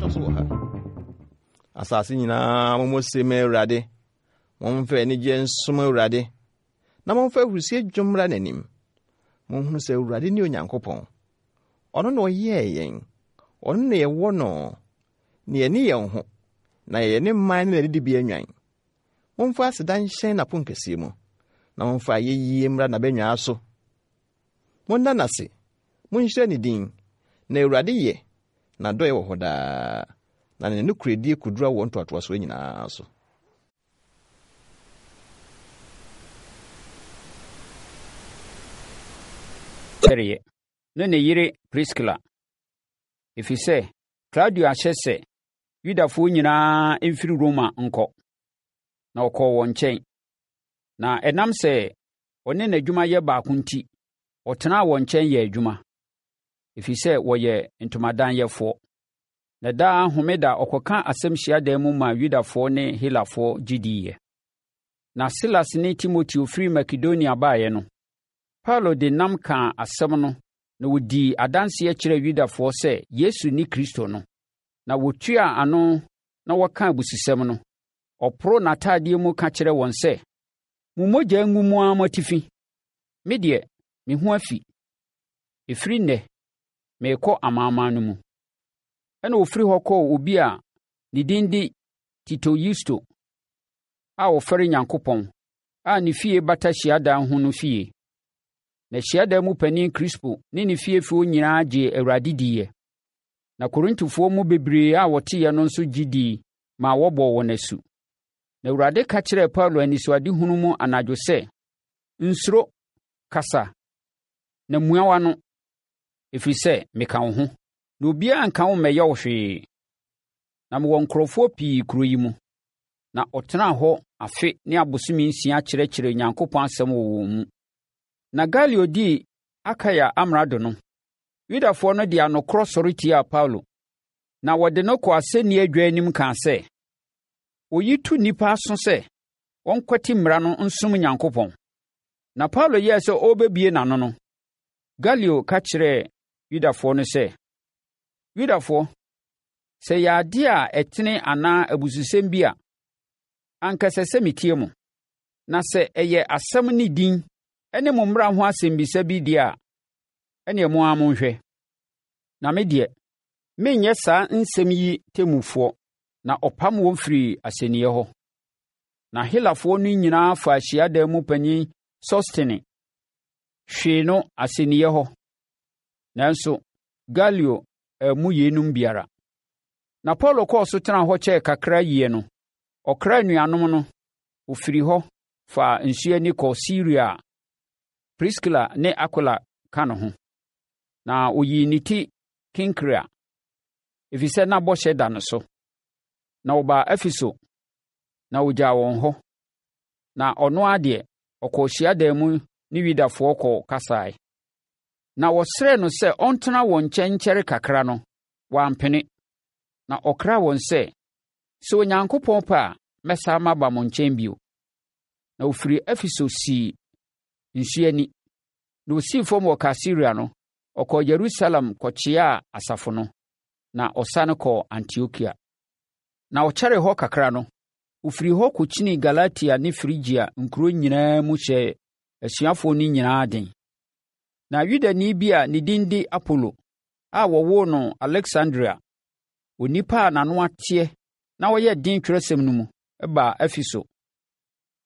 so wɔ ha. Asase nyinaa mommɔ se ma Awurade. Momfa anigyeɛ nsom Awurade, na momfa ahurisie dwom mmra n'anim. Monhunu sɛ Awurade ne Onyankopɔn. Ɔno na ɔyɛɛ yɛn, ɔno na yɛwɔ no, na yɛne yɛn ho, na yɛyɛ ne man ne n'adidibea nnwan. Momfa aseda nhyɛn n'aponkɛseɛ mu, na momfa ayɛyie mmra n'abannwaa so. Monna no ase, monhyira ne din, na Awurade yɛ, n'adɔeɛ wɔ hɔ daa, na ne nokorɛdie kɔduru awoɔ ntoatoasoɔ nyinaa so. Kyɛreɛ ne ne yere Priskila, ɛfiri sɛ Klaudio ahyɛ sɛ Yudafoɔ nyinaa mfiri Roma nkɔ, na ɔkɔɔ wɔn nkyɛn. Na ɛnam sɛ ɔne n'adwuma yɛ baako nti, ɔtenaa wɔn nkyɛn yɛɛ adwuma, ɛfiri sɛ wɔyɛ ntomadanyɛfoɔ. Na daa homeda ɔkɔka asɛm hyiadan mu maa Yudafoɔ ne Helafoɔ gye diiɛ. Na Silas ne Timoteo firi Makedonia baeɛ no, Paulo de nnam kaa asɛm no na ɔdii adanseɛ kyerɛɛ Yudafoɔ sɛ Yesu ne Kristo no. Na wɔtuaa ano na wɔkaa abususɛm no, ɔporoo n'atadeɛ mu ka kyerɛɛ wɔn sɛ, Mo mogya ngu mo ara mo atifi. Me deɛ, me ho afi. Ɛfiri nnɛ, merekɔ amanaman no mu. Ɛnna ɔfiri hɔ kɔɔ obi a ne din de Tito Yusto a ɔfɛre Nyankopɔn a ne fie bata hyiadan ho no fie. Na hyiadan mu panin Krispo ne ne fiefoɔ nyinaa gyee Awurade diiɛ. Na Korintofoɔ mu bebree a wɔteeɛ no nso gye dii maa wɔbɔɔ wɔn asu. Na Awurade ka kyerɛɛ Paulo anisoadehunu mu anadwo sɛ, Nsuro, kasa, na mua w'ano, ɛfiri sɛ meka wo ho, na obiara nka wo mmɛyɛ wo hwee. Na mewɔ nkurɔfoɔ pii kuro yi mu. Na ɔtenaa hɔ afe ne abosome nsia kyerɛkyerɛɛ Onyankopɔn asɛm wɔ wɔn mu. Na Galio dii Akaia amrado no, Yudafoɔ no de anokorɔ sɔre tiaa Paulo, na wɔde no kɔɔ asɛnnie adwa anim kaa sɛ, Oyi tu nnipa aso sɛ wɔnkwati mmara no nsom Nyankopɔn. Na Paulo yɛɛ sɛ ɔrebɛbue n'ano no, Galio ka kyerɛɛ Yudafoɔ no sɛ, Yudafoɔ, sɛ ɛyɛ adeɛ a ɛtene anaa abususɛm bi a, anka ɛsɛ sɛ metie mo. Na sɛ ɛyɛ asɛm ne din ne mo mmara ho asɛmmisa bi deɛ a, ɛnneɛ mo ara monhwɛ. Na me deɛ, merenyɛ saa nsɛm yi temmufoɔ. Na ɔpam wɔn firii asɛnniiɛ hɔ. Na Helafoɔ no nyinaa faa hyiadan mu panin Sostene hwee no asɛnniiɛ hɔ. Nanso Galio ammu yeinom biara. Na Paulo kɔɔ so tenaa hɔ kyɛɛ kakra yie no, ɔkraa anuanom no, ɔfirii hɔ faa nsuo ani kɔɔ Siria a Priskila ne Akwila ka ne ho. Na ɔyii ne ti Kenkrea, ɛfiri sɛ na bɔhyɛ da no so. Na wɔbaa Efeso, na ɔgyaa wɔn hɔ. Na ɔno ara deɛ, ɔkɔɔ hyiadan mu ne Yudafoɔ kɔ kasae. Na wɔsrɛɛ no sɛ ɔntena wɔn nkyɛn nkyɛre kakra no, wampene. Na ɔkraa wɔn sɛ, Sɛ Onyankopɔn pɛ a, mɛsan maba mo nkyɛn bio. Na ɔfirii Efeso sii nsuo ani. Na ɔsii fam wɔ Kaesarea no, ɔkɔɔ Yerusalem kɔkyeaa asafo no, na ɔsane kɔɔ Antiokia. Na ɔkyɛree hɔ kakra no, ɔfirii hɔ kɔkyinii Galatia ne Frigia nkuro nyinaa mu hyɛɛ asuafoɔ no nyinaa den. Na Yudani bi a ne din de Apolo a wɔwoo no Aleksandria, onipa a n'ano ateɛ na ɔyɛ den twerɛsɛm no mu, baa Efeso.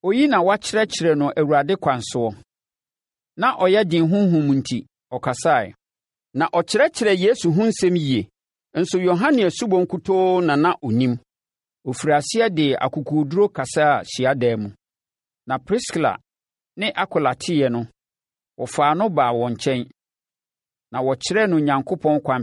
Oyi na wɔakyerɛkyerɛ no Awurade kwan soɔ. Na ɔyɛ den honhom nti, ɔkasae. Na ɔkyerɛkyerɛɛ Yesu ho nsɛm yie, nso Yohane asubɔ nkutoo na na ɔnim. Ɔfirii aseɛ de akokoɔduro kasaa hyiadan mu. Na Priskila ne Akwila teeɛ no, wɔfaa no baa wɔn nkyɛn, na wɔkyerɛɛ no Onyankopɔn kwan.